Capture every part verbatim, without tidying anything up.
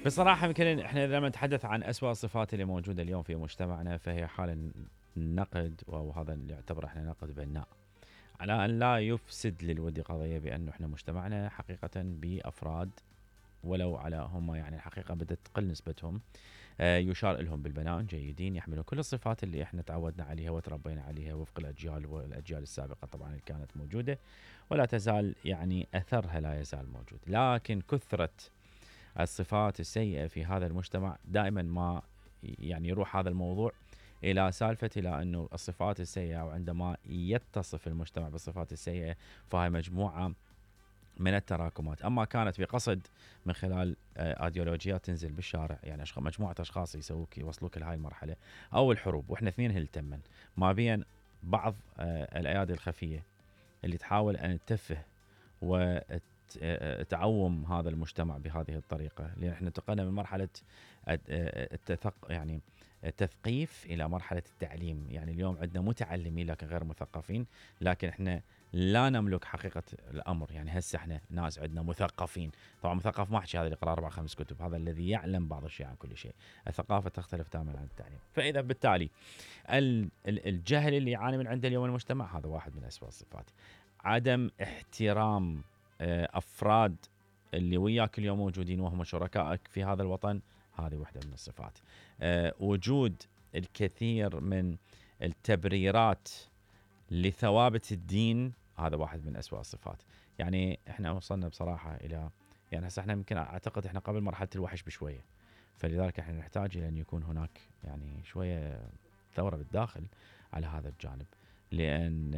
بصراحة يمكن احنا لما نتحدث عن أسوأ الصفات اللي موجودة اليوم في مجتمعنا فهي حال النقد، وهذا اللي يعتبر احنا نقد بناء، على أن لا يفسد للود قضية بأنه احنا مجتمعنا حقيقة بأفراد ولو على هم يعني الحقيقة بدأت تقل نسبتهم، آه، يشار لهم بالبناء جيدين، يحملون كل الصفات اللي احنا تعودنا عليها وتربينا عليها وفق الأجيال والأجيال السابقة طبعا اللي كانت موجودة، ولا تزال يعني أثرها لا يزال موجود. لكن كثرة الصفات السيئة في هذا المجتمع دائما ما يعني يروح هذا الموضوع إلى سالفة إلى أنه الصفات السيئة، وعندما يتصف المجتمع بالصفات السيئة فهي مجموعة من التراكمات، أما كانت بقصد من خلال أيديولوجيات تنزل بالشارع، يعني مجموعة أشخاص يسووك يوصلوك لهاي المرحلة، أو الحروب، وإحنا اثنين هلتمن ما بين بعض الأيادي الخفية اللي تحاول أن تتفه وتعوم هذا المجتمع بهذه الطريقة، لأن احنا انتقلنا من مرحلة التثق يعني التثقيف إلى مرحلة التعليم. يعني اليوم عندنا متعلمين لكن غير مثقفين، لكن احنا لا نملك حقيقة الأمر. يعني هسه احنا ناس عندنا مثقفين، طبعا مثقف ما احكي هذا اللي قرأ أربع خمس كتب، هذا الذي يعلم بعض الشيء عن كل شيء. الثقافة تختلف تماما عن التعليم. فإذا بالتالي الجهل اللي يعاني من عنده اليوم المجتمع هذا واحد من أسوأ الصفات. عدم احترام أفراد اللي وياك اليوم موجودين وهم شركائك في هذا الوطن، هذه واحدة من الصفات. أه وجود الكثير من التبريرات لثوابت الدين، هذا واحد من أسوأ الصفات. يعني احنا وصلنا بصراحة إلى يعني هسه احنا يمكن أعتقد احنا قبل مرحلة الوحش بشوية، فلذلك احنا نحتاج إلى أن يكون هناك يعني شوية ثورة بالداخل على هذا الجانب، لأن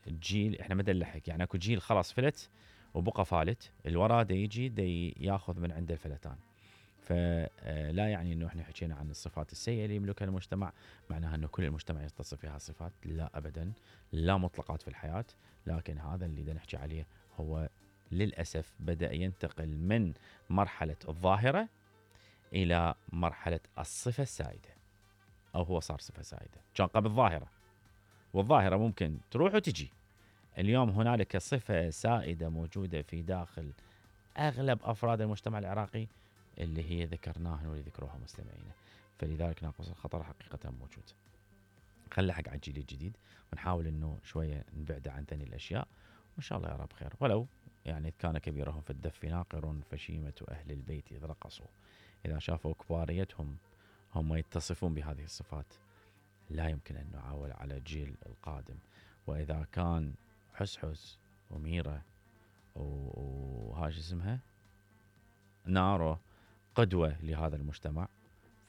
الجيل احنا ما نلحق. يعني اكو جيل خلاص فلت وبقى فالت، الورا دا يجي دا ياخذ من عنده الفلتان. فلا يعني انه احنا حكينا عن الصفات السيئة اللي يملكها المجتمع معناها انه كل المجتمع يتصف فيها الصفات، لا ابدا، لا مطلقات في الحياة. لكن هذا اللي دا نحكي عليه هو للأسف بدأ ينتقل من مرحلة الظاهرة إلى مرحلة الصفة السائدة، أو هو صار صفة سائدة. كان قبل ظاهرة، والظاهرة ممكن تروح وتجي. اليوم هنالك صفة سائدة موجودة في داخل أغلب أفراد المجتمع العراقي اللي هي ذكرناها واللي ذكروها مستمعينا. فلذلك ناقص الخطر حقيقة موجود. خلي حق على الجيل الجديد ونحاول إنه شوية نبعد عن ثاني الأشياء، وإن شاء الله يا رب خير. ولو يعني كان كبيرهم في الدف ناقر فشيمة أهل البيت إذ رقصوا. إذا شافوا كباريتهم هم يتصفون بهذه الصفات، لا يمكن أن نعاول على الجيل القادم. وإذا كان حسحس وميرة وهاش اسمها نارو قدوة لهذا المجتمع،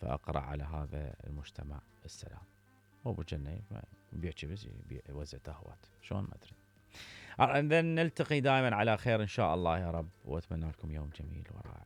فأقرأ على هذا المجتمع السلام. وابو جنة بيحكي بس يوزع تهوات شلون ما أدري. نلتقي دائما على خير إن شاء الله يا رب، وأتمنى لكم يوم جميل ورائع.